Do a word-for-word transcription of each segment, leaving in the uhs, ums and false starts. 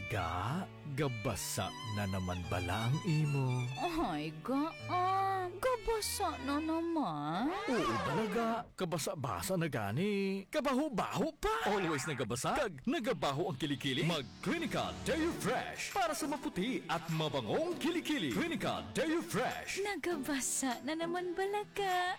Ga, gabasa na naman bala ang imo? Ay, ga, ah, gabasa na naman. Oo, bala, ga. Kabasa-basa na gani. Kabaho-baho pa. Always nagabasa kag nagabaho ang kilikili. Mag Clinica Deo Fresh para sa maputi at mabangong kilikili. Clinica Deo Fresh. Nagabasa na naman bala ka.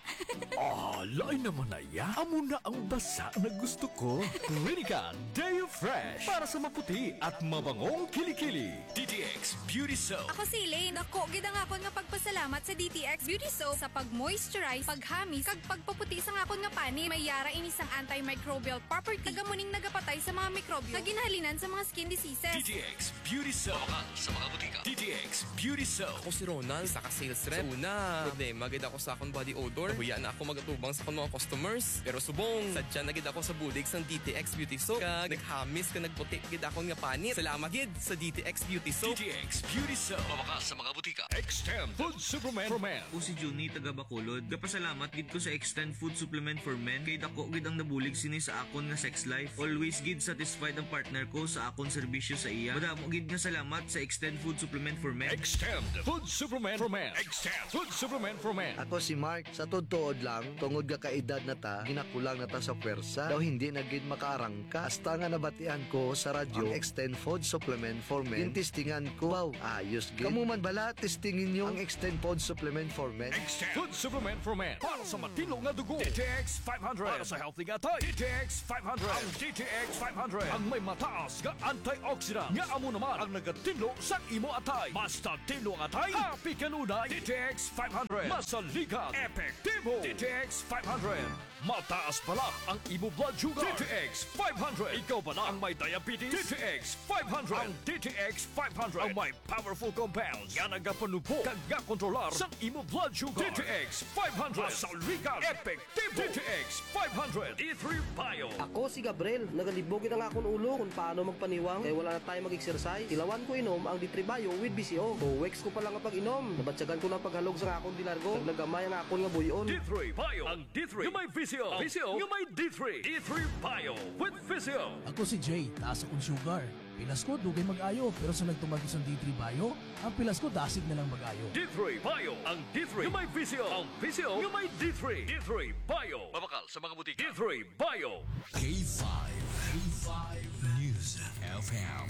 Ah, lain naman na ya. Amo na ang basa na gusto ko. Clinica Deo Fresh para sa maputi at mabangong kilikili. D T X Beauty Soap. Ako si Elaine. Dako gid ang akon nga pagpasalamat sa D T X Beauty Soap sa pag-moisturize, paghamis, kag pagpaputi sang akon nga panit. May yara ini sang antimicrobial property. Taga mo ning nagapatay sa mga mikrobyo nga ginahalinan sa mga skin diseases. D T X Beauty Soap. Mabakal sa mga butika. D T X Beauty Soap. Ako si Ronald, isa ka sales rep. Sa una, problema gid ako sa akong body odor. Nahuya na ako mag-atubang sa akong mga customers. Pero subong, sadya na gid ako sa bulig sang D T X Beauty Soap. Kag naghamis kag nagputi gid akon nga panit. Salamat gid sa D T X Beauty Soap. D T X Beauty Soap. Mabakal sa mga butika. Extend Food Supplement for Men. Ako si Junie, taga Bacolod. Gapasalamat gid ko sa Extend Food Supplement for Men kay dako gid ang nabulig sini sa akon nga sex life. Always gid satisfied ang partner ko sa akon serbisyo sa iya. Madamo gid nga salamat sa Extend Food Supplement for Men. Extend Food Supplement for Men. Extend Food Supplement for Men. Ako si Mark. Sa tuod-tuod lang, tungod nga kaedad na ta, ginakulang na ta sa pwersa. Daw hindi na gid makaarangka. Hasta nga nabatian ko sa radyo ang Extend Food Supplement for Men. Gintistingan ko. Wow, ayos gid. Kamo man bala, testingi ninyo ang Extend Food Supplement for Men. Extend Food Supplement for Men. Para sa matino nga dugo, D T X five hundred. Para sa healthy nga atay, D T X five hundred. Ang D T X five hundred ang may mataas nga antioxidant nga amo naman ang nagatinlo sa imo atay. Basta tinlo ang atay, happy kanunay. D T X five hundred. Masaligan, epektibo. D T X five hundred. Mataas bala ang imo blood sugar. D T X five hundred. Ikaw bala ang may diabetes? D T X five hundred. Ang D T X five hundred ang may powerful compounds nga nagapanubo kag gakontrolar sa imo blood sugar. D T X five hundred. Masaligan, epektibo. D T X five hundred. D three Bio. Ako si Gabriel. Nagalibog gid ang akon ulo kung paano magpaniwang kay wala na tayo mag-exercise. Tilawan ko inom ang D three Bio with V C O. Two weeks ko pa lang ang pag-inom. Nabatyagan ko ng paghalog sa akon di largo. Nagnagamay ang akon nga buy-on. D three Bio. Ang D three nga may V C O. V C O nga may D three. D three Bio with V C O. Ako si Jay, taas akong sugar. Pilas ko, dugay mag-ayo, pero sa nagtumag isang D three Bio, ang pilas ko dasig na lang mag-ayo. D three Bio, ang D three nga may V C O. Ang V C O nga may D three. D three Bio. Mabakal sa mga butika. D three Bio. K five, K five News F M,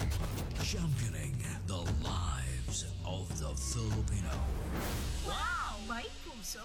championing the lives of the Filipino. Wow, may puso!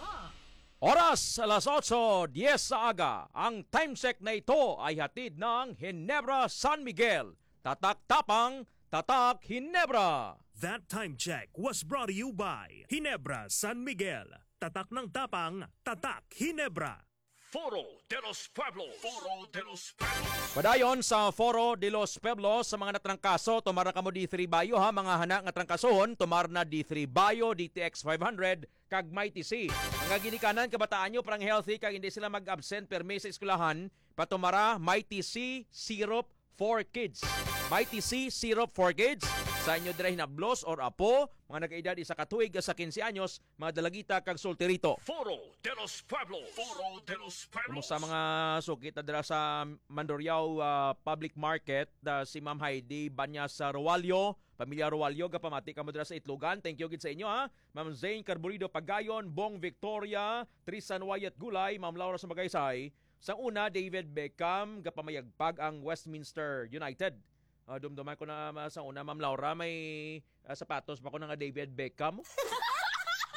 Oras, alas otso diez sa aga. Ang time check na ito ay hatid ng Ginebra San Miguel. Tatak tapang, tatak Ginebra. That time check was brought to you by Ginebra San Miguel. Tatak ng tapang, tatak Ginebra. Foro de los Pueblos. Foro de los Pueblos. Padayon sa Foro de los Pueblos, sa mga natrangkaso, tumara kamo D three Bio, ha, mga hana nga trangkasohon, tumar na D three Bio, D T X five hundred, kag Mighty C. Mga ginikanan, kabataan nyo, parang healthy, kag hindi sila mag-absent permi sa eskwelahan, patumara Mighty C Syrup for Kids. Mighty C Syrup for Kids. Sa inyo dira hinablos or apo, mga nagkaedad isa ka tuig sa quince anyos, mga dalagita kag solterito. Foro de los Pueblos. Foro de los Pueblos. Kumusta mga sukit na dira sa Mandurriao, ah, Public Market? Ah, si Ma'am Heidi Banyas sa Roalio, pamilya Roalio, gapamati kamo dira sa Itlogan. Thank you gid sa inyo, ha. Ma'am Zane Carburido Pagayon, Bong Victoria, Tristan Wyatt Gulay, Ma'am Laura sa Magaysay. Sa una, David Beckham, gapamayagpag ang Westminster United. Ah, dumduman ko na, ma-, sa una, Ma'am Laura, may, ah, sapatos pa ko na nga David Beckham.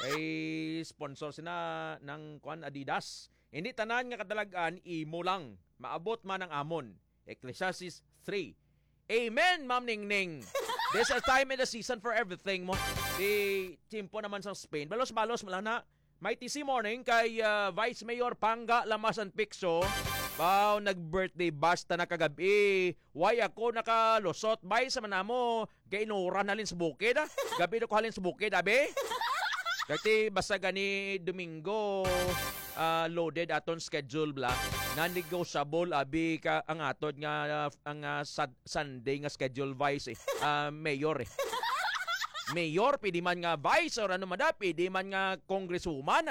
Kay sponsor sina ng, kuan, Adidas. Hindi tanan nga kadalag-an, imo lang. Maabot man ang amon. Ecclesiastes three. Amen, Ma'am Ningning. There's a time and a season for everything mo. Di, tiyempo naman sa Spain. Balos-balos mo lang na. Mighty C morning kay, ah, Vice Mayor Panga Lamasan Picso. Wow, nag-birthday bash ta na kagabi. Why ako nakalusot? Bay, sa manamo, kay inuran halin sa bukid, ah. Gabi na ko halin sa bukid, abi. Dati basta gani Domingo, ah, loaded aton schedule, bla. Non-negotiable, abi, ka, ang atod nga, ah, ang, ah, sad-, Sunday nga schedule, Vice, eh. Ah, Mayor, eh. Mayor, pwede man nga Vice, or ano man da, pwede man nga Congresswoman.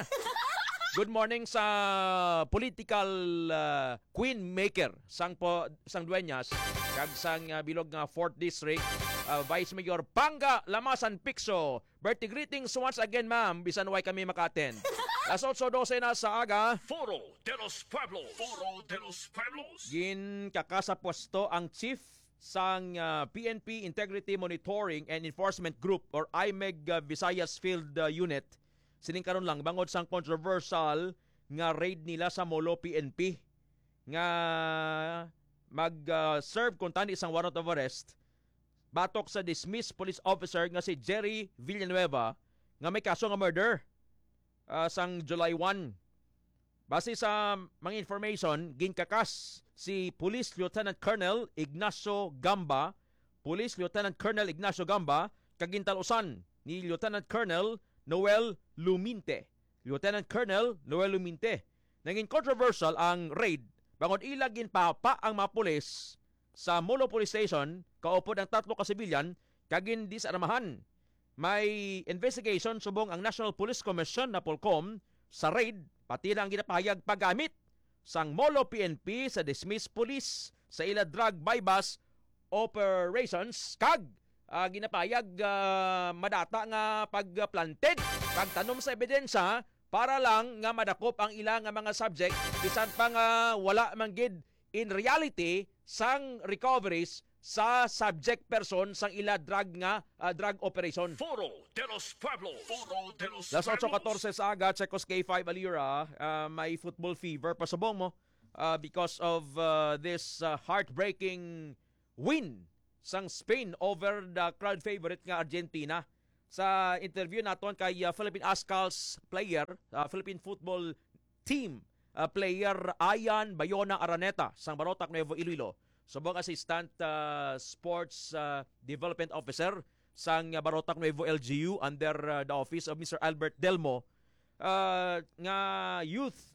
Good morning sa political, ah, queen maker sang po, sang Dueñas, kag sang, ah, bilog nga fourth District, ah, Vice Mayor Panga Lamasan Picso. Birthday greetings once again, ma'am, bisan way kami maka-attend. Las otso dose na sa aga. Foro de los Pueblos. Foro de los Pueblos. Ginkakasa pwesto ang chief sang, ah, P N P Integrity Monitoring and Enforcement Group or IMEG, ah, Visayas Field, ah, Unit sining karon lang bangod sang controversial nga raid nila sa Molo P N P nga mag, ah, serve kuntani sang warrant of arrest batok sa dismissed police officer nga si Jerry Villanueva nga may kaso nga murder, ah, sang July one. Base sa mga information, ginkakas si Police Lieutenant Colonel Ignacio Gamba, Police Lieutenant Colonel Ignacio Gamba, kag gintal-usan ni Lieutenant Colonel Noel Luminte. Lieutenant Colonel Noel Luminte. Nangin controversial ang raid bangod ila ginpapa ang mga pulis sa Molo Police Station, kaupod ang tatlo ka sibilyan, kag gindisarmahan. May investigation subong ang National Police Commission, NAPOLCOM, sa raid, pati na ang ginapahayag paggamit sang Molo P N P sa dismissed police sa ila drug buy-bust operations kag, ah, ginapahayag, ah, madata nga pagplanted kag tanom sa ebidensya para lang nga madakop ang ila nga mga subject, bisan pa nga wala man gid in reality sang recoveries sa subject person sang ila drug nga, ah, drug operation. Foro de los Pueblos. Foro de los Las otso katorse sa aga, Checos K five Alira, ah, may football fever pa subong mo, ah, because of, ah, this, ah, heartbreaking win sang Spain over the crowd favorite nga Argentina. Sa interview naton kay, ah, Philippine Ascals player, ah, Philippine football team, ah, player Ian Bayona Araneta sang Barotac Nuevo Iloilo, subong Assistant, ah, Sports, ah, Development Officer sang, ah, Barotac Nuevo L G U under, ah, the office of Mister Albert Delmo, ah, nga youth,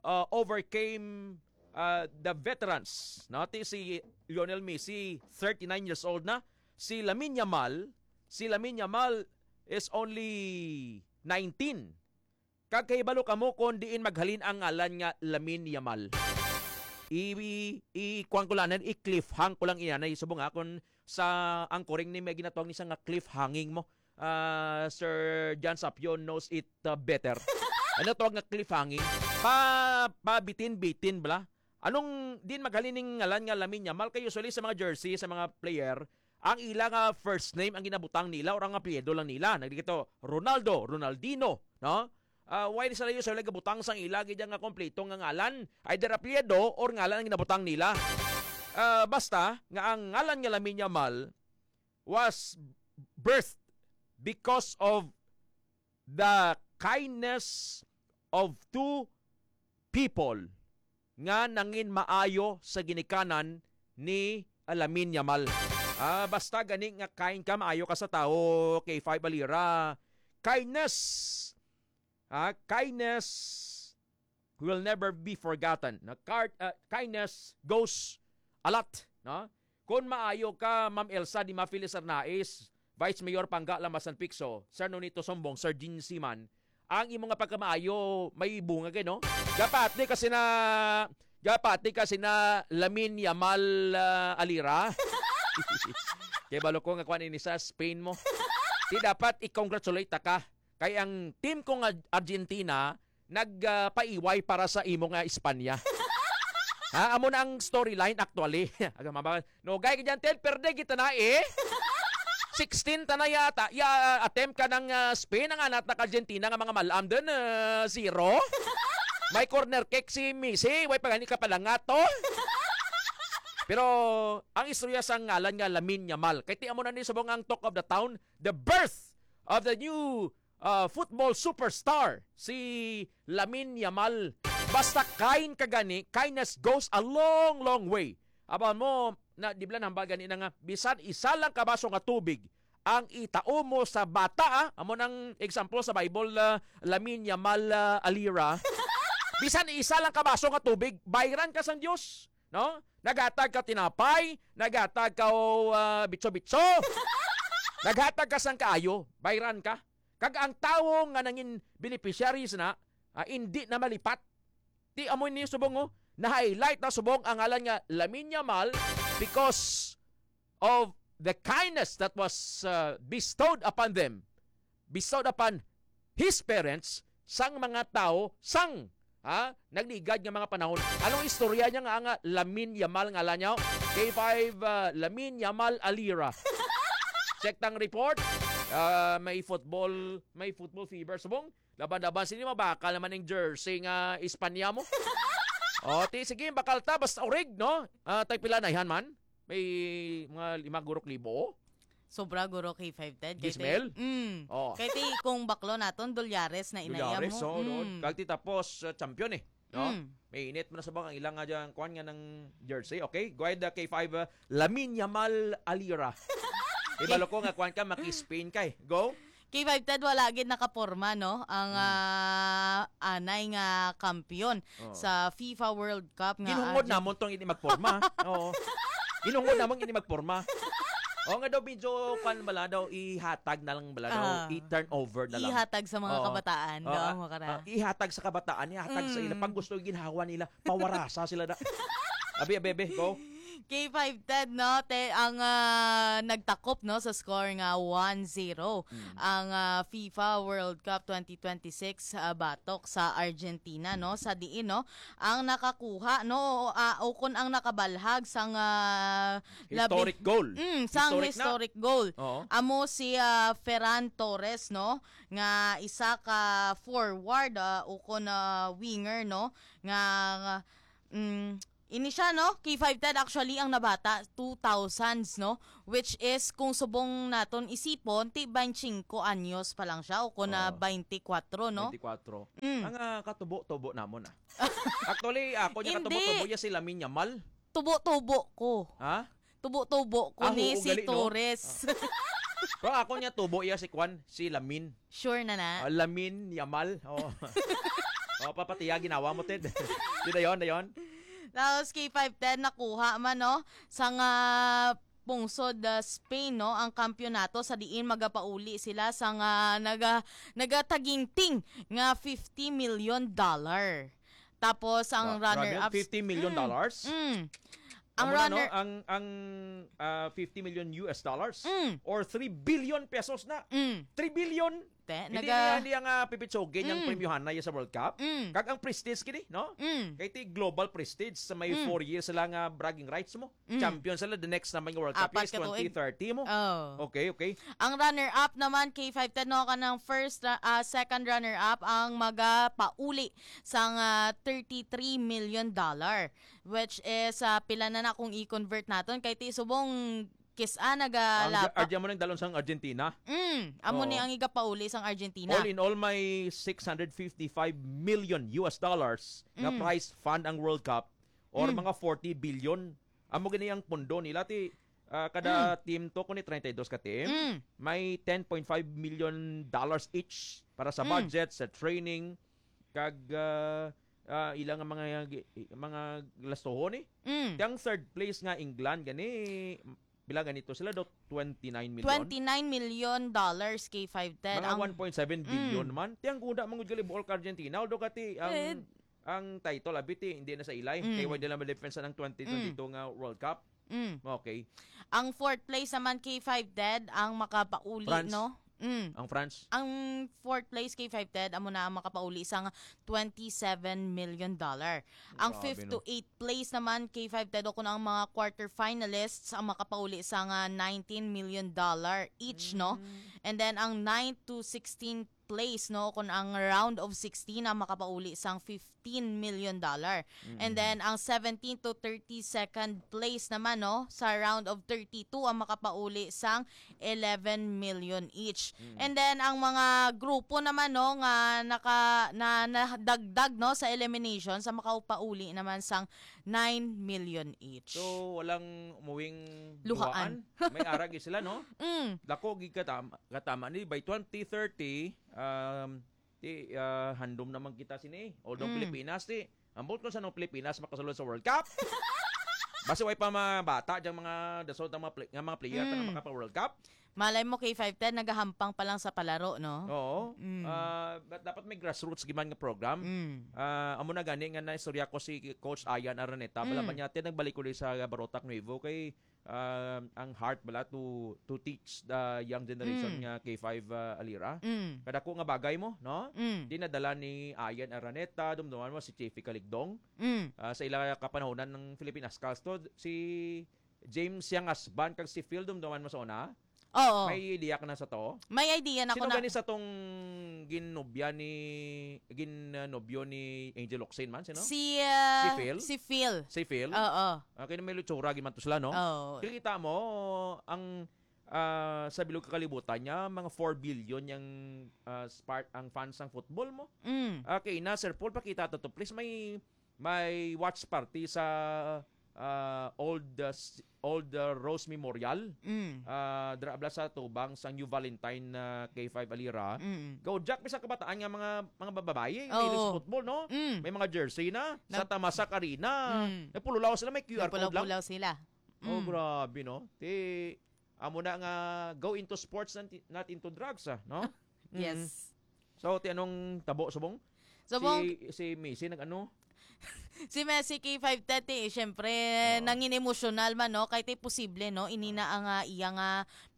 ah, overcame, ah, the veterans. No? Ti si Lionel Messi, thirty-nine years old na. Si Lamine Yamal, si Lamine Yamal is only nineteen. Kag kahibalo kamo kon diin maghalin ang ngalan nga Lamine Yamal. I, i, i kuwan ko lang, i-cliffhang ko lang inanay subong ha, kung sa angkoring ni may ginatawag ni siya nga cliffhanging mo. Ah, Sir John Sapio knows it, uh, better. Ano tawag nga cliffhanging? Pa, pa bitin-bitin bala. Anong din maghalin ning ngalan nga Lamine Yamal? Kay usually sa mga jersey, sa mga player, ang ila nga first name ang ginabutang nila or ang apelyido lang nila. Nagdikito, Ronaldo, Ronaldino, no? Ah, why sila usually gabutang sang ila gid nga kompleto nga ngalan? Either apelyido or ngalan ang ginabutang nila. Ah, basta nga ang ngalan nga Lamine Yamal was birthed because of the kindness of two people nga nangin maayo sa ginikanan ni Lamine Yamal. Ah, basta gani nga kind ka, maayo ka sa tawo, K five Alira. Kindness, ah, kindness will never be forgotten. Na card, ah, kindness goes a lot, no? Kung maayo ka, Ma'am Elsa Di Mafilis Arnaiz, Vice Mayor Pangga Lamasan Picso, Sir Nonito Sombong, Sir Jean Siman, ang imo nga pagkamaayo may bunga kay, no? Gapati kasi na gapati kasi na Lamine Yamal, ah, Alira. Kay balo ko nga kuan ini sa Spain mo. Di dapat i-congratulate ta ka. Kay ang team ko nga Argentina nag, ah, paiway para sa imo nga Espanya. Ha, amo na ang storyline actually. Aga mabal. No, gay ka dyan, Ted, perde kita na eh. Sixteen ta na yata. Ya, attempt ka ng, ah, Spain, ang anat na Argentina nga mga malam din, ah, zero. May corner kick si Messi, way pa gani ka pala nga to. Pero ang istorya sa ngalan nga Lamine Yamal. Kay ti amo na ni subong ang talk of the town, the birth of the new, uh, football superstar, si Lamine Yamal. Basta kind ka gani, kindness goes a long, long way. Aba mo, na, di ba nambal gani na nga, bisan isa lang ka baso nga tubig ang itao mo sa bata, ah, amo nang example sa Bible, ah, Lamine Yamal, ah, Alira. Bisan isa lang ka baso nga tubig, bayran ka sang Dios, no? Naghatag ka tinapay, naghatag ka, oh, ah, bitso-bitso. Naghatag ka sang kaayo, bayran ka. Kag ang tawo nga nangin beneficiaries na, ah, indi na malipat. Ti amo ni subong, oh, na-highlight na subong ang ngalan nga Lamine Yamal because of the kindness that was uh, bestowed upon them, bestowed upon his parents, sang mga tawo sang, ha, nagligad nga mga panahon. Anong istorya niya nga, nga Lamin Yamal nga ala niya? K five, uh, Lamin Yamal Alira. Check tang report. Uh, may football, may football fever. Subong, laban-laban sini, mabakal naman ang jersey nga Espanya mo. O, ti, sige, bakal ta, basta orig, no? Ah, tagpila na ihan man? May mga lima gurok libo. Sobra guro kay five ten. Kay ti- Gismel? Mm. Oh. Kay ti kung baklo naton, dolyares na inaya Dolyares, mo. Oh, no? Mm. Kag ti tapos, uh, champion eh. No? Mm. May init mo na sa bang ang ilang nga dyan, kuan nga ng jersey. Okay? Go ahead, uh, K five, uh, Lamin Yamal Alira. Ibalo ko nga kuan ka, maki-Spain ka eh. Go? K five ten wala gid nakaporma, no? Ang, hmm, ah, anay nga kampiyon, oh, sa FIFA World Cup nga Ginhungod Argent- namon tong ini magporma. Oo. Ginhungod namon ini magporma. Oo nga daw, medyo, kwan bala daw, ihatag na lang bala daw, ah, i-turn over na lang. Ihatag sa mga, oo, kabataan, oo, daw, ah, mo ka na. Ah, ihatag sa kabataan, ihatag sa ila. Mm. Pag gusto, ginhawa nila, pawarasa sila na. Abi, abi, abi, go. K five ten, no? Te, ang, ah, nagtakop, no, sa score nga one zero. Mm. Ang, ah, FIFA World Cup twenty twenty-six, ah, batok sa Argentina, no? Sa diin, no? Ang nakakuha, no? O, ah, o kun ang nakabalhag sang, ah, labi- Historic goal. Mm, sang historic na. Historic goal. Oo. Amo si, ah, Ferran Torres, no? Nga isa ka forward, ah, o kun, ah, winger, no? Nga, nga, mm, ini siya, no? K five ten, actually, ang nabata, two thousands, no? Which is, kung subong naton isipon, ti twenty-five anyos pa lang siya, o kung na, oo, twenty-four, no? Twenty-four. Mm. Ang, ah, katubo-tubo namon, ah. Actually, ako niya Hindi. Katubo-tubo, ya si Lamin Yamal. Tubo-tubo ko. Ha? Tubo-tubo ko. Ah, ni oo, si gali, no? Torres. Ah. Pero ako niya tubo iya si Kwan, si Lamin. Sure na na? Ah, Lamin Yamal. Oh. Oh, papatiya ginawa mo, Ted. Di dayon, dayon. Tapos K five ten nakuha man, no? Sa nga pungsod, ah, Spain, no? Ang kampiyonato sa diin magapauli sila sa nga naga-, nagataginting nga fifty million dollar. Tapos ang, gra-, grabe, runner-up, fifty million dollars? Mm, mm. Ang amo na, no? Runner- Ang, ang, ah, fifty million U S dollars? Mm. Or three billion pesos na. Mm. Three billion? Te, hindi naga- niya, hindi ang, ah, pipitsugin yung, mm, premyohan na iya sa World Cup. Mm. Kag ang prestige gini, no? Mm. Kay ti global prestige sa may, mm, four years sila nga bragging rights mo. Mm. Champion sila the next naman nga World Cup. Apat is ka tuig. Twenty thirty mo. Oh. Okay, okay. Ang runner-up naman, K five ten, no, kanang first ra-, ah, second runner-up ang magapauli sang, ah, thirty-three million dollar, which is, ah, pila na na kung i-convert naton? Kay ti subong kis-a nagalapa. Ang Arge-, Arge-, amo nang dalon sang Argentina. Mm, amo ni, oo, ang igapauli sang Argentina. All in all, may six hundred fifty-five million U S dollars nga, mm, prize fund ang World Cup, or, mm, mga forty billion. Amo gani ang pondo nila ti, ah, kada, mm, team to, kuni treinta y dos ka team, mm, may ten point five million dollars each para sa, mm, budget, sa training, kag, ah, ah, ilang mga, mga lastohon eh. Mm. Ti ang third place nga England gani, pila ganito sila do? Twenty-nine million? Twenty-nine million dollars, K five ten. Mga ang one point seven billion, mm, man. Ti ang guna mangud gali buol ka Argentina, although kati ang, eh, ang title, abi, ti, hindi na sa ilay. Mm. Kay wala nila ma-defense ang twenty twenty-two, mm, nga World Cup. Mm. Okay. Ang fourth place naman, K five ten, ang makapauli, France, no? Mm. Ang France. Ang fourth place, K five ten, amo na ang makapauli sang twenty-seven million dollar. Ang, grabe, fifth to, no, eighth place naman, K five ten, o kung ang mga quarter finalists ang makapauli sang, ah, nineteen million dollar each, no? Mm. And then, ang ninth to sixteenth place, no, kung ang round of sixteen ang makapauli sang fifteen million dollar. Mm. And then, ang seventeen to thirty-second place naman, no, sa round of thirty-two ang makapauli sang eleven million each. Mm. And then, ang mga grupo naman, no, nga naka-, na, nadagdag, no, sa elimination, sa makapauli naman sang nine million each. So, walang umuwing luhaan. Luhaan. May arag sila, no? Mm. Dako gid katama, katama ni by twenty thirty, um, ti, ah, handom naman kita sini. Although, mm, Pilipinas, ti, ambot ko sa nang Pilipinas makasulod sa World Cup. Basi way pa mga bata diyang mga dasol ang mga play-, nga mga player, mm, nga makapa World Cup. Malay mo, K five ten, nagahampang pa lang sa palaro, no? Oo. Mm. Ah, da-, dapat may grassroots giman nga program. Mm. Ah, amo na gani nga naistorya ko si Coach Ian Araneta. Mm. Bala man niya, ti, nagbalik ulit sa Barotac Nuevo kay, um, ang heart bala to to teach the young generation Mm. nga K five, uh, Alira. Mm. Kadako nga bagay mo, no? Mm. Dinadala ni Ian Araneta, dumduman mo si Chiefy Kaligdong. Mm. Ah, sa ila kapanahonan ng Philippine Ascals to, si James Yang Asban kag si Phil, dumduman mo sa una. Oo. May idea ka na sa to? May idea na ko Sino na. gani sa tong ginobya ni, gin, uh, nobyo ni Angel Locsin man? Sino? Si, uh, Si Phil? si Phil. Si Phil? Oo. Ah, kaya may lutsura, gimantos sila, no? Oo. Kikita mo, ang, ah, sa bilog kakalibutan niya, mga four billion yung, ah, spark, ang fans ng football mo. Mm. Okay, na, Sir Paul, pakita to, to. Please, may, may watch party sa, ah, old, ah, s-, old, ah, Rose Memorial. Mm. Ah, dra-, abla sa tubang sang New Valentine na K five Alira. Mm. Go, Jack, may sa kabataan nga mga, mga bababayi, Oo. may sa football, no? Mm. May mga jersey na, sa Nag- Tamasak Arena. Mm. Nagpululaw sila, may Q R code lang. Nagpulaw-pulaw sila. Oh, Mm. grabe, no? Ti, amo na nga, go into sports, not, not into drugs, ah, no? Yes. Mm. So, ti anong tabo, subong? Subong Si, si Messi nag-ano? Si Messi K five thirty, eh, syempre, Oo. nangin emosyonal man, no? Kay ti posible, no? Ini na ang, ah, iya nga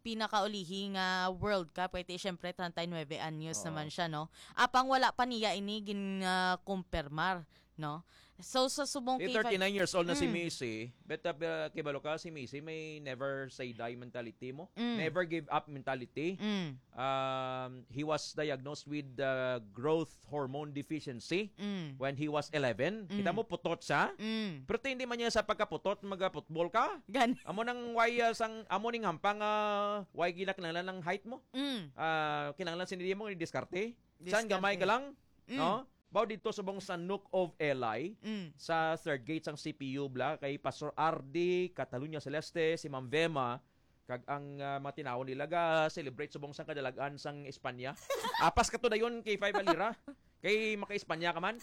pinakaulihi nga World Cup. Kay ti, syempre, treinta y nueve anyos Oo. naman siya, no? Apang wala pa niya ini gin, ah, kumpirmar, no? So, sa subong Di K five thirty-nine years old na si Mm. Messi, but, uh, kibalo ka, si Messi may never say die mentality mo. Mm. Never give up mentality. Mm. Um, he was diagnosed with, uh, growth hormone deficiency Mm. when he was eleven. Kita Mm. mo, putot siya. Mm. Pero hindi man niya sa pagkaputot, magaputbol ka. Gan- Amo nang why, uh, sang, amo ning hampang, uh, why ginakinahanglan ng height mo. Mm. Ah, kinahanglan sini mo, diskarte. Saan gamay ka Diskarte. lang? Mm. No? Bao dito subong sa Nook of Eli, Mm. sa third gate sang C P U bla, kay Pastor R D, Catalunya Celeste, si Ma'am Vema, kag ang, ah, mga tinawon nila ga celebrate subong sang kadalagan sang Espanya. Apas ka to dayon kay Five Alira. Kay maka-Espanya ka man.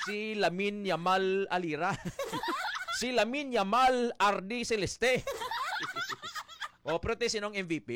Si Lamin Yamal Alira. Si Lamin Yamal R D Celeste. O, pero te, sinong M V P?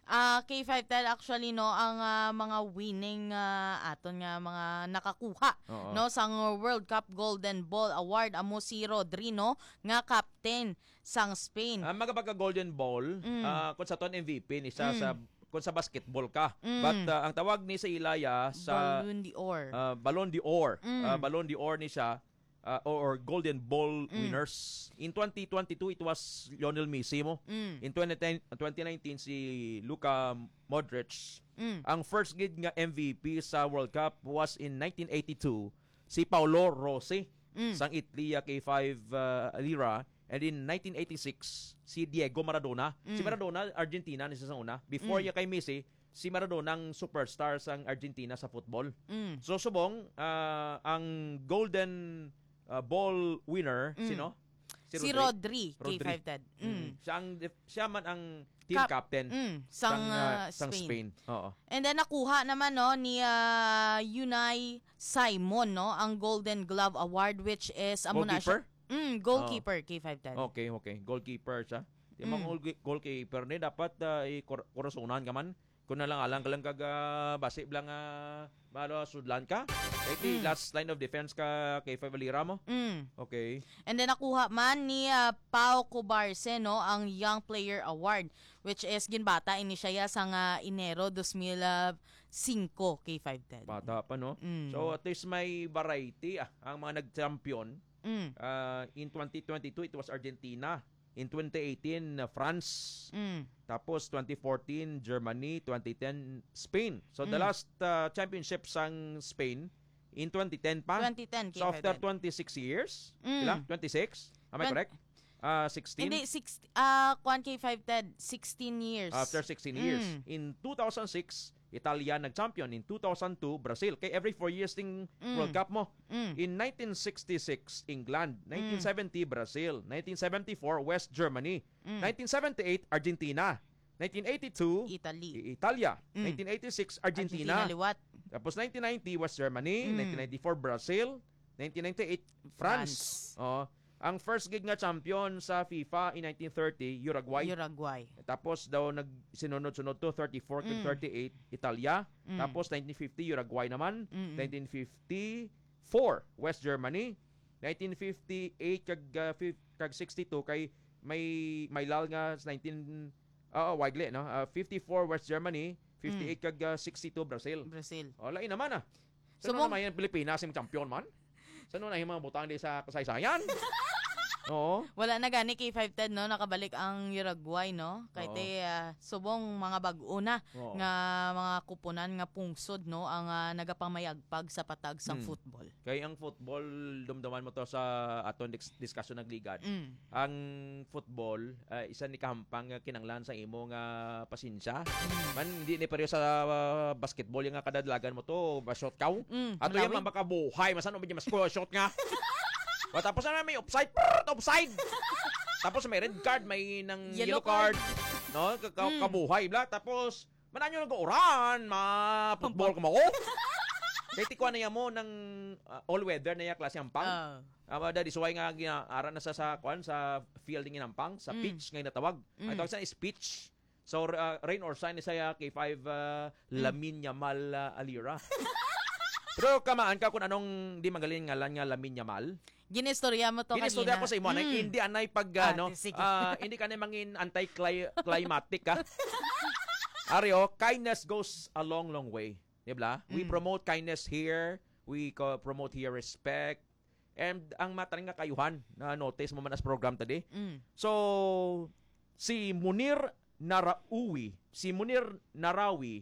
Ah, K five ten, actually, no, ang, ah, mga winning, ah, aton nga mga nakakuha, Oo. no, sang World Cup Golden Ball Award amo si Rodri, no, nga captain sang Spain. Ah, magapagka Golden Ball, Mm. ah, kung sa ton M V P ni siya Mm. sa, kung sa basketball ka. Mm. But, ah, ang tawag ni sa ilaya sa, Ballon d'Or. ah, Ballon d'Or. Mm. Ah, Ballon d'Or ni siya, ah, or, or Golden Ball Mm. winners. In twenty twenty-two, it was Lionel Messi mo. Mm. In twenty ten, twenty nineteen, si Luka Modric. Mm. Ang first gid nga M V P sa World Cup was in nineteen eighty-two, si Paolo Rossi Mm. sang Italy, ah, K five, ah, Alira. And in nineteen eighty-six, si Diego Maradona. Si Mm. Maradona, Argentina ni siya sa una. Before Mm. niya kay Messi, si Maradona ang superstar sang Argentina sa football. Mm. So, subong, ah, ang Golden, ah, Ball winner, Mm. sino? Si Si Rodri. Rodri, Rodri. K five ten. Mm. Mm. Siya ang def-, siya man ang team Cap-, captain mm, sang, sang, ah, ah, sang Spain. Spain. Oo. And then nakuha naman, no, ni, ah, Unai Simon, no, ang Golden Glove Award, which is, amo na siya. Goalkeeper? Mm, goalkeeper, Oo. K five ten. Okay, okay. Goalkeeper siya. Di man Mm. goal-, goalkeeper ni, dapat, ah, i-, kor-, kurasonan ka man. Kung nalang-alang ka lang kag, ah, basi lang, ah, malo sudlan ka. Kay ti Mm. last line of defense ka, K five Alira mo. Mm. Okay. And then nakuha man ni, ah, Pau Cubarce, no, ang Young Player Award, which is ginbata ini siya ya sang, ah, Enero dos mil singko, K five ten. Bata pa, no? Mm. So, at least may variety, ah, ang mga nag-champion. Mm. Ah, in twenty twenty-two, it was Argentina. In twenty eighteen, uh, France. Mm. Tapos twenty fourteen, Germany. Twenty ten, Spain. So, the Mm. last, uh, championship sang Spain in twenty ten pa. Twenty ten, So, after K five ten. twenty-six years, Mm. sila? Twenty-six? Am I Twen- correct? Ah, sixteen? Hindi, six, ah, kwan, K five ten, sixteen years. After sixteen years. Mm. In two thousand six, Italia nag-champion. In two thousand two, Brazil. Kay every four years ting Mm. World Cup mo. Mm. In nineteen sixty-six, England. Mm. Nineteen seventy, Brazil. Nineteen seventy-four, West Germany. Mm. Nineteen seventy-eight, Argentina. Nineteen eighty-two, Italy. I-, Italia. Mm. Nineteen eighty-six, Argentina. Argentina liwat. Tapos nineteen ninety, West Germany. Mm. Nineteen ninety-four, Brazil. Nineteen ninety-eight, France. France. Oh. Ang first gid nga champion sa FIFA in nineteen thirty, Uruguay. Uruguay. Tapos daw nagsinunod-sunod to, thirty-four kag Mm. thirty-eight, Italia. Mm. Tapos nineteen fifty, Uruguay naman. Mm-mm. Nineteen fifty-four, West Germany. Nineteen fifty-eight kag, ah, fif-, kag sixty-two kay may, may lal nga sa nineteen, ah, Weigl, no? Ah, fifty-four West Germany, fifty-eight kag, ah, sixty-two Brazil. Brazil. Oh, lain naman, ah. Sa Subong naman yung Pilipinas, yung champion man? Sa na yung mga butang di sa kasaysayan? Oo. Wala na gani K five ten, no? Nakabalik ang Uruguay, no? Kay Oo. te, ah, subong mga bag-o na Oo. nga mga kupunan nga pungsod, no? Ang, ah, nagapamayagpag sa patag sang Hmm. football. Kay ang football, dumduman mo to sa aton dis-, discussion nagligad. Mm. Ang football, ah, isa ni kahampang nga kinanglan sa imo nga pasensya. Mm. Man, hindi ni pareho sa, ah, basketball yung nga kadadlagan mo to, ba-shot ka? Mm, Ato yung malawi. Makabuhay, masan mo ba yung mas shot nga? Wa, tapos na may offside, prrrt, offside! Tapos may red card, may nang Yellow yellow card. card. No? Ka-, ka-, Mm. kabuhay, bla. Tapos, man, ano nag-uuran? Ma-football ka mo? Kay tikwa na yan mo ng, ah, all-weather na yung klase ang pang. Ah. Ah, that is why nga gina-, ara na sa, sa, kwan, sa field nga nampang, sa Mm. pitch nga natawag. Mm. Ang tawag sa is pitch. So, uh, rain or shine, sa K five, uh, Mm. Lamine Yamal, uh, Alira. Pero kamaan ka kung anong di magaling ngalan nga Lamine Yamal? Ginistorya mo to Ginistorya kanina. ko sa imo, anay, Mm. hindi anay pag, Ah, ano, sige. ah, hindi ka na mangin anti-cli-, climatic, ha? Ari, oh, kindness goes a long, long way. Di ba? We Mm. promote kindness here. We co-, promote here respect. And ang mata nga kayuhan, na notice mo man as program tadi. Mm. So, si Munir Narawi, si Munir Narawi,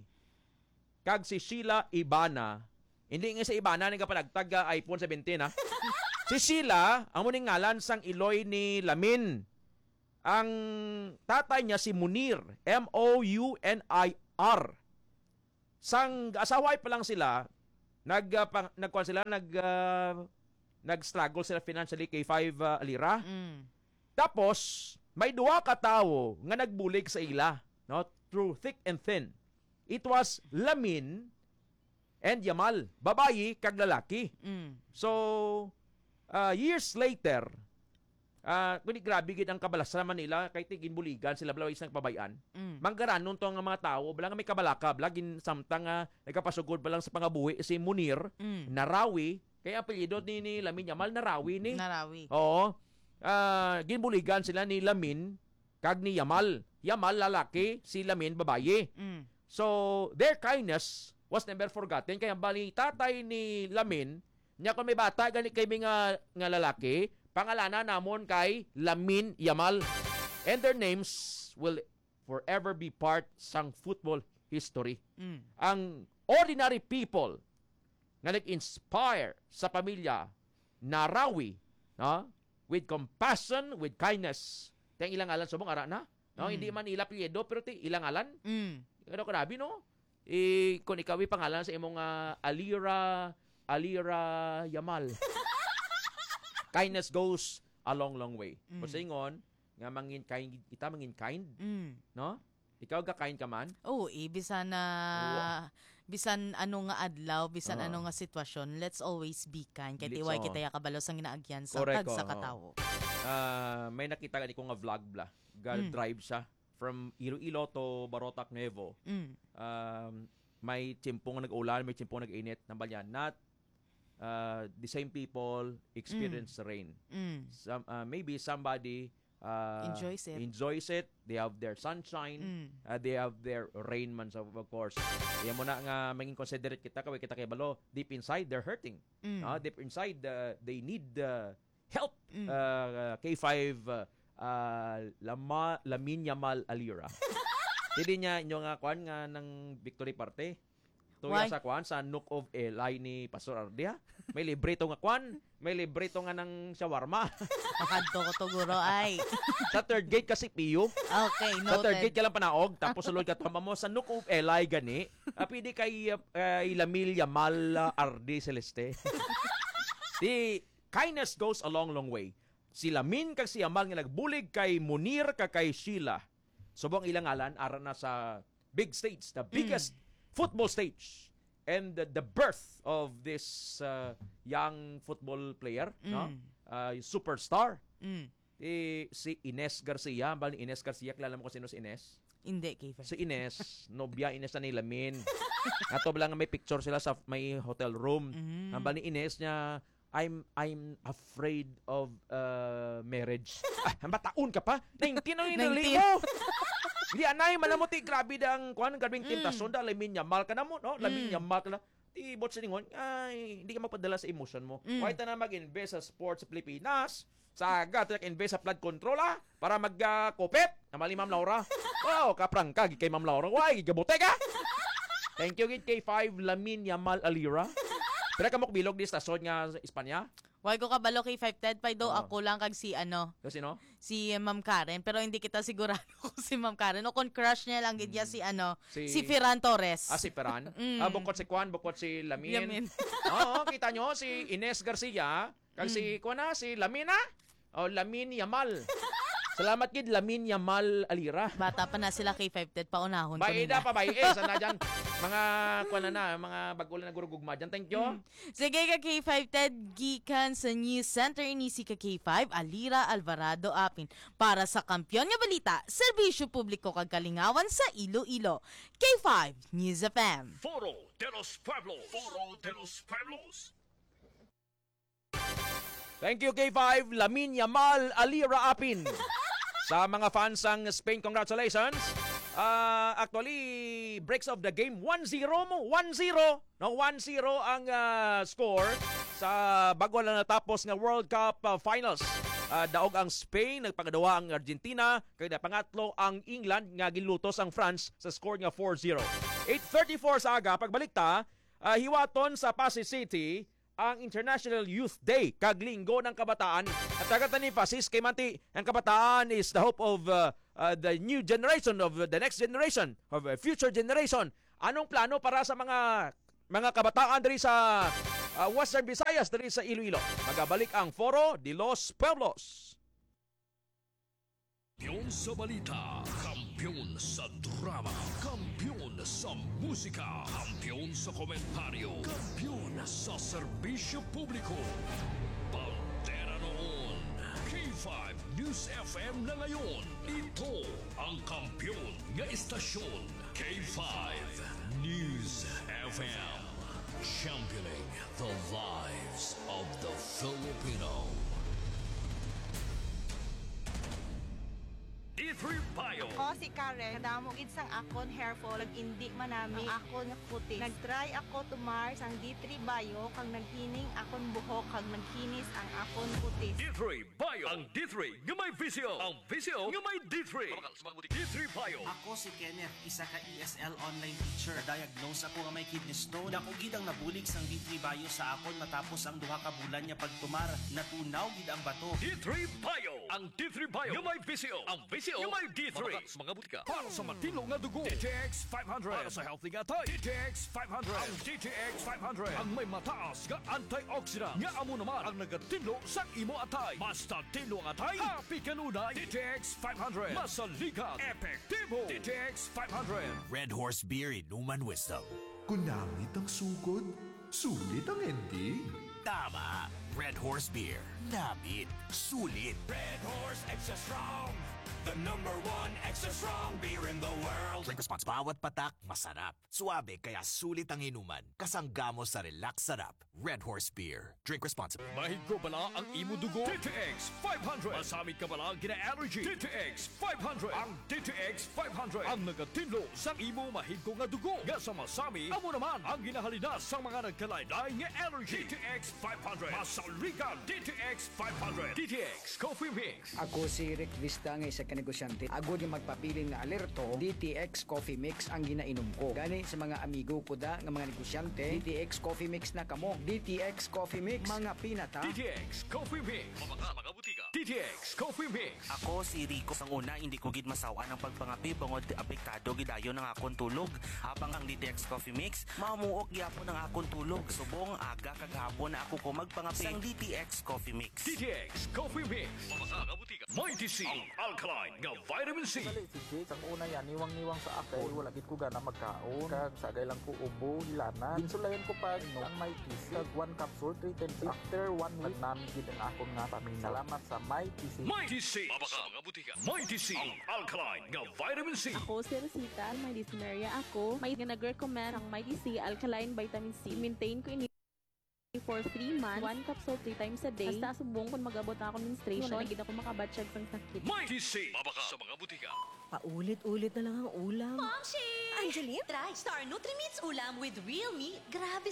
kag si Sheila Ibana, hindi nga si Ibana nagapanagtag ka iPhone seventeen, ha? Si Sheila, amo ning ngalan sang iloy ni Lamin. Ang tatay niya si Munir, M O U N I R. Sang asawa pa lang sila, nag, ah, pang-, nagkuan sila, nag, ah, nag-struggle sila financially kay five, ah, Alira. Mm. Tapos, may duha ka tawo nga nagbulig sa ila, no? Through thick and thin. It was Lamin and Yamal, babayi kag lalaki. Mm. So, ah, years later, ah, kundi grabe gid ang kabalasra man nila, kay ti ginbuligan sila, bala, isang pabayan. Mm. Manggaranon to nga mga tawo, bala nga may kabalaka, bala, gin-, samtang, ah, nagkapasugod pa lang sa pangabuhi si Munir, Mm. Narawi, kay apelyido ni, ni Lamin Yamal, Narawi ni. Narawi. Oo. Ah, ginbuligan sila ni Lamin kag ni Yamal. Yamal, lalaki, si Lamin, babayi. Mm. So, their kindness was never forgotten. Kaya bali, tatay ni Lamin, niya kung may bata, gani kay nga, nga lalaki, pangalana namon kay Lamin Yamal. And their names will forever be part sang football history. Mm. Ang ordinary people nga nag-inspire sa pamilya Narawi, no? With compassion, with kindness. Ti ang ilang ngalan subong ara na, no? Mm. Hindi man ila apelyido, pero ti ilang ngalan. Mm. Ano, grabe, no? Eh, kung ikaw ay pangalan sa imong, ah, Alira, Alira Yamal. Kindness goes a long, long way. Mm. Kung sa ingon, nga mangin kind, kita mangin kind, Mm. no? Ikaw, ga-kind ka man? Oo, eh, bisan na, Wa- bisan ano nga adlaw, bisan Ah. ano nga sitwasyon, let's always be kind. Kay Let's tiway all. kita ya kabalo sang ginaagyan sa Correct, tagsa oo. ka tawo. Ah, may nakita gani ko nga vlog bla. Ga-, Mm. drive siya from Iloilo to Barotac, Nuevo. Mm. Um, may tiyempo nga nag-ulan, may tiyempo nga nag-init, nang balyan. Not, uh, the same people experience Mm. rain. Mm. Some, uh, maybe somebody, uh, Enjoys it. enjoys it. They have their sunshine. Mm. Uh, they have their rain man, so of course. Yan mo na nga, maging considerate kita, kaway kita kay balo, deep inside, they're hurting. Mm. Ah, deep inside, uh, they need, uh, help. Mm. Uh, K five, uh, uh, Lama-, Lamin Yamal Alira. Hindi niya inyo nga kwan nga ng victory party. Tuya Why? sa kwan, sa Nook of Eli ni Pastor Ardi, ha? May libre to nga kwan, may libre to nga ng shawarma. Pakadto ko to, guro, ay. Sa third gate kasi, Pio. Okay, Sa third noted. gate ka lang panaog, tapos sulod ka, tama mo, sa Nook of Eli gani, ah, pwede kay, ah, kay Lamil Yamal, ah, Ardi Celeste. Di, kindness goes a long, long way. Si Lamin kag si Yamal nga nagbulig kay Munir kag kay Sheila. Subong ilang ngalan, ara na sa big stage, the biggest Mm. football stage. And the, the birth of this, uh, young football player, no? Mm. Uh, superstar. Mm. Eh, si Ines Garcia. Bali, Ines Garcia, kilala mo kung sino si Ines? Hindi, Kevin. Si Ines, nobya Ines na ni Lamin. Ato ba lang may picture sila sa may hotel room. Mm. Ang bali ni Ines niya, I'm, I'm afraid of, uh, marriage. Ah, mataon ka pa? Nineteen ang inuli Nineteen. mo. Di, anay, malamot, eh, grabe da ang, kuwan, grabing Mm. temptasyon, da, Lamine Yamal ka na mo, no? Lamine Mm. Yamal ka na. Di, bot siningon, ay, hindi ka magpadala sa emotion mo. Mm. Why ta na mag-invest sa sports sa Pilipinas? Sa aga, ta invest sa flood control, ah, para mag, ah, kupit. Namali, Ma'am Laura. Wow, kaprangka, gid kay Ma'am Laura. Why, gabote ka? Thank you, gid kay five, Lamine Yamal Alira. Pira ka mo bilog di stasyon nga sa Espanya? Why ko kabalo kay five Ted, pay do Oo. ako lang kag si, ano, Kasi, no? si Ma'am Karen. Pero hindi kita sigurado kung si Ma'am Karen o kung crush niya lang gid niya Mm. si, ano, Si si Ferran Torres. Ah, si Ferran? Mm. Ah, bukod si Kwan, bukod si Lamin. Lamin. Oo, kita nyo, si Ines Garcia, kag si, Mm. kuwan na, si Lamina, o Lamin Yamal. Salamat gid, Lamin Yamal Alira. Bata pa na sila kay five Ted, paunahon ko Baida nila. pa, bai. Eh, sana dyan. Mga, kuwan na na, mga bago lang nagurugugma dyan. Thank you. Mm. Sige ka, K five Ted, gikan sa News Center, ini si ka K five, Alira Alvarado Apin. Para sa Kampiyon nga Balita, Serbisyo Publiko kag Kalingawan sa Iloilo. K five News F M. Foro de los Pueblos. Foro de los Pueblos. Thank you, K five. Lamin Yamal, Alira Apin. Sa mga fans sang Spain, congratulations. Ah, actually, breaks of the game, one zero mo, one zero. No, one zero ang, ah, score sa bago lang natapos nga World Cup, ah, Finals. Ah, daog ang Spain, nagpangadawa ang Argentina, kag napangatlo ang England nga ginlutos ang France sa score nga four zero. Eight thirty-four sa aga, pagbalik ta, ah, hiwaton sa Passi City ang International Youth Day kag Linggo ng Kabataan. At tagat na ni Fasis kay Manti, ang kabataan is the hope of, uh, uh, the new generation, of the next generation, of the future generation. Anong plano para sa mga, mga kabataan diri sa, uh, Western Visayas, diri sa Iloilo? Magabalik ang Foro de los Pueblos. Kampiyon sa balita, kampiyon sa drama, kampiyon sa musika, kampiyon sa komentaryo, kampiyon sa serbisyo publiko. Bandera noon, K five News F M na ngayon. Ito ang kampiyon nga istasyon, K five News F M. Championing the lives of the Filipino. D three Bio. Ako si Karen. Kadamo gid sang akon hair fall, nag-indi man nami ang akon nga kutis. Nag-try ako tumar sang D three Bio, kag naghining akon buhok, kag naghinis ang akon kutis. D three Bio. Ang D three nga may visyo. Ang visyo nga may D three. Mabakal sa mga butika. D three Bio. Ako si Kenneth, isa ka E S L online teacher. Na-diagnose ako nga may kidney stone. Dako gid ang nabulig sang D three Bio sa akon matapos ang duha ka bulan nga pagtumar. Natunaw gid ang bato. D three Bio. Ang D three Bio nga may visyo. Ang visyo nga may D three. Mabakal sa mga butika. Para sa matinlo nga dugo, D T X five hundred. Para sa healthy nga atay, D T X five hundred. Ang D T X five hundred ang may mataas nga antioxidant nga amo naman ang nagatinlo sa imo atay. Basta tinlo ang atay, happy kanunay. D T X five hundred, masaligan, epektibo. D T X five hundred. Red Horse Beer, Inuman Wisdom. Kung namit ang sugod, sulit ang ending. Tama. Red Horse Beer. Namit. Sulit. Red Horse Extra Strong. The number one extra strong beer in the world. Drink responsible. Bawat patak, masarap. Suabe, kaya sulit ang inuman. Kasangga mo sa relax sarap. Red Horse Beer. Drink responsibly. Mahigko bala ang imo dugo? D T X five hundred. Masamit ka bala gina-allergy? D T X five hundred. Ang D T X five hundred ang nagatinlo sa imo mahigko nga dugo nga sa masami, amo naman ang ginahalinas sa mga nagkalain-lain nga allergy. D T X five hundred. Masaligan, D T X five hundred. D T X Coffee Mix. Ako si Rick Vista nga isa ka negosyante. Agod nga magpabilin nga alerto, D T X Coffee Mix ang ginainom ko. Gani sa mga amigo ko da nga mga negosyante, D T X Coffee Mix na kamo. D T X Coffee Mix, mga pinata. D T X Coffee Mix. Mabakal sa mga butika. D T X Coffee Mix. Ako si Rico. Sang una, hindi ko gid masaw-an ang pagpangape bangod apektado gid dayon ang akon tulog. Habang ang D T X Coffee Mix, mamuok gyapon ang akon tulog. Subong aga kag hapon na ako ko magpangape. Sang D T X Coffee Mix. D T X Coffee Mix. Mabakal sa mga butika. Mighty C, ang alkaline nga vitamin C. Dali si Jake, sang una yan, niwang-niwang sa ako. Wala gid ko gana magkaon. Kag sagay lang ko ubo, hilanat. Ginsulayan ko pa, no, ang Mighty C. Kag one capsule, three times. After one week, nagnami gid ang akon nga paminaw. Salamat sa Mighty C. Mighty C. Mabakal sa mga butika. Mighty C, ang alkaline nga vitamin C. Ako si Rosita, may dysmenorrhea ako. May nga nag-recommend ang Mighty C alkaline vitamin C. I-maintain ko ini For three months, one capsule three times a day. Hasta subong kung mag-abot na akong menstruation, wala na gid ako makabatyag sang sakit. Mighty C! Mabaka sa mga butika. Paulit-ulit na lang ang ulam. Momshi! Angeline? Try Star Nutrimits Ulam with real meat. Grabe